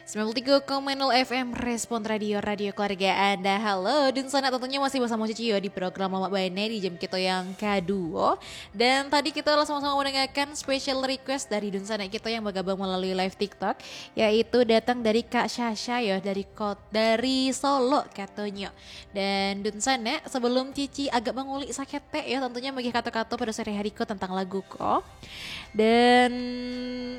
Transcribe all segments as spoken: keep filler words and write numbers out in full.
Sembilan puluh tiga koma nol F M Respon Radio, radio keluarga Anda. Halo, dunsanak, tentunya masih bersama Cici yo di program Lamak Bana di jam kito yang kaduo. Dan tadi kita lah sama-sama mendengarkan special request dari dunsanak kito yang bergabung melalui live TikTok, yaitu datang dari Kak Sasha yo, dari kot-, dari Solok katonyo. Dan dunsanak, sebelum Cici agak mangulik saketek yo, tentunya magiah kato-kato pado sore hari ko tentang lagu ko. Dan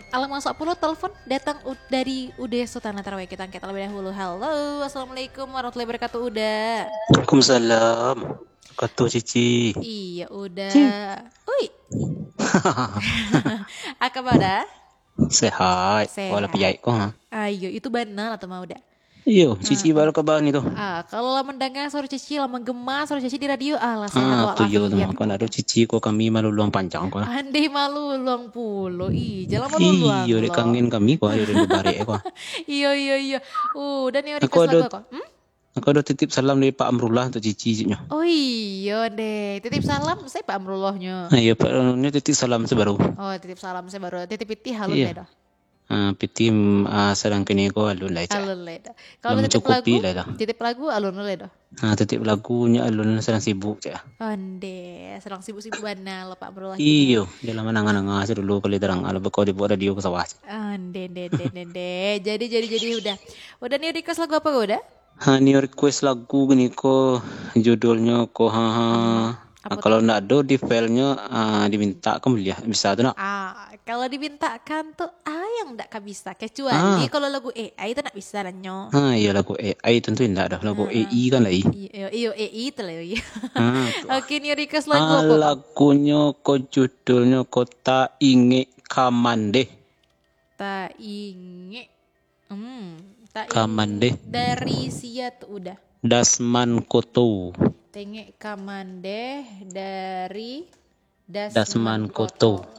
alah masuak pulo telepon datang u-, dari Uda Sultan Tarawih. Kita angkat terlebih dahulu. Halo, assalamualaikum warahmatullahi wabarakatuh, Uda. Waalaikumsalam. Kato Cici. Iya, Uda. Ci. Ui. Apa kabar, Uda? Sehat. Sehat. Wala piyaik ko, ha? Ayo, itu bana lah tu mah, Uda. Iyo, Cici baru kabar ni tu. Ah, kalau lah mandanga suaro Cici, lah manggema suaro Cici di radio, ah, lah sehat walafiat. Ah, tu yo tu. Kok ndak ado Cici ko kami maluluang panjang ko lah. Andeh maluluang pulo. Ih, jan lah maluluang. Iyo, dek kangen kami ko, ayo rindu barek ko. Iyo, iyo, iyo. Uh, dan yo request lagu ko. Hmm? Aku ado titip salam dari Pak Amrullah untuk Cici, cik nyo. Oh iyo, deh. Titip salam, saya Pak Amrullahnyo. Ah, iyo, Pak Amrullahnyo titip salam sabaru. Oh, titip salam sabaru. Titip pitih alun deh doh. Ah, pitih, mm, ah, sadang kini ko alun lai, cak. Alun lai doh. Kalau titip lagu, lah doh. Titip lagu alun lai doh. Ah, titip lagunyo alun, sadang sibuk, cak. Ondeh, sadang sibuk-sibuk bana lo Pak Amrullah. Iyo, jan lah mananga-nanga se dulu, kalau tarang, alah, bakau dibuek radio ka sawah. Ondeh, deh, deh, deh, deh. Jadi, jadi, jadi, Uda. Uda ni request lagu apa, Uda? Ha, ni request lagu gini ko, judulnyo ko, ha, ha. Hmm, apo tu? Kalau ndak ado di filenya, ah, dimintakan buliah, bisa tu nak? Ah, kalau dimintakan tu, ah, yang ndak ka bisa. Kecuali kalau lagu A I tu ndak bisa lah nyo. Ha, iyo, lagu A I tentu indak doh. Lagu A I kan lai. Iyo, iyo, A I tu lah, iyo. Ha, tu. Oke, ni request lagu apa, Pak? Lagunyo ko, judulnyo ko Tak Ingek Ka Mandeh. Tak ingek. Hmm, tak ingek. Ka Mandeh. Dari sia tu, Uda? Dasman Koto. Tak Ingek Ka Mandeh dari Dasman Koto.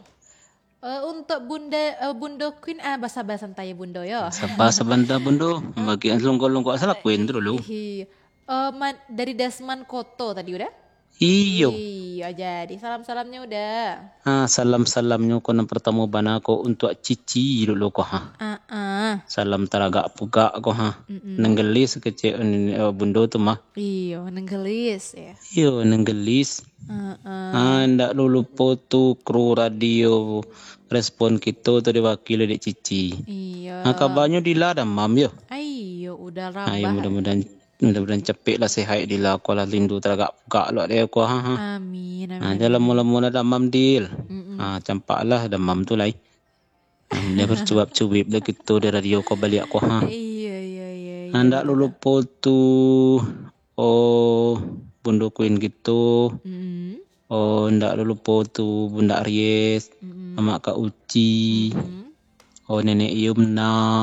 Eh, untuk Bunda, eh, Bundo Queen, ah, basa-basa santai Bundo yo. Saba sabanta Bundo, bagi lungkok-lungkok salah Queen tu dulu. Ih, eh, man-, dari Dasman Koto tadi, Uda? Iyo. Iyo, jadi salam-salamnyo, Uda. Ha, salam-salamnyo ko nan partamo bana ko untuak Cici dulu ko, ha. Ah, ah. Salam taragak pugak ko, ha. Mm-mm. Nenggelis kecek, eh, Bundo tu mah. Iyo, nenggelis, ya. Iyo, nenggelis. Ah, ah. Ha, ndak lu lupo tu kru radio Respon kito tu diwakili dek Cici. Iyo. Ha, kabanyo Dila damam yo. Aiyo, Uda rabah. Ayo, mudah-mudahan Mudah-mudahan capek lah sehat Dila ko lah, lindu taragak pugak lo dek ko, ha, ha. Amin, amin. Ha, jan lamo-lamo lah damam, Dil. Mm-mm. Ha, campak lah damam tu lai. Ha, jan bacuap-cuip lah kito di radio ko baliak ko, ha. Iyo, iyo, iyo, iyo. Ha, ndak lu lupo tu, oh, Bundo Queen kito. Mm-mm. Oh, ndak lu lupo tu Bunda Aries, mm-mm, Mamak Kak Uci. Mm-mm. Oh, Nenek Yumna.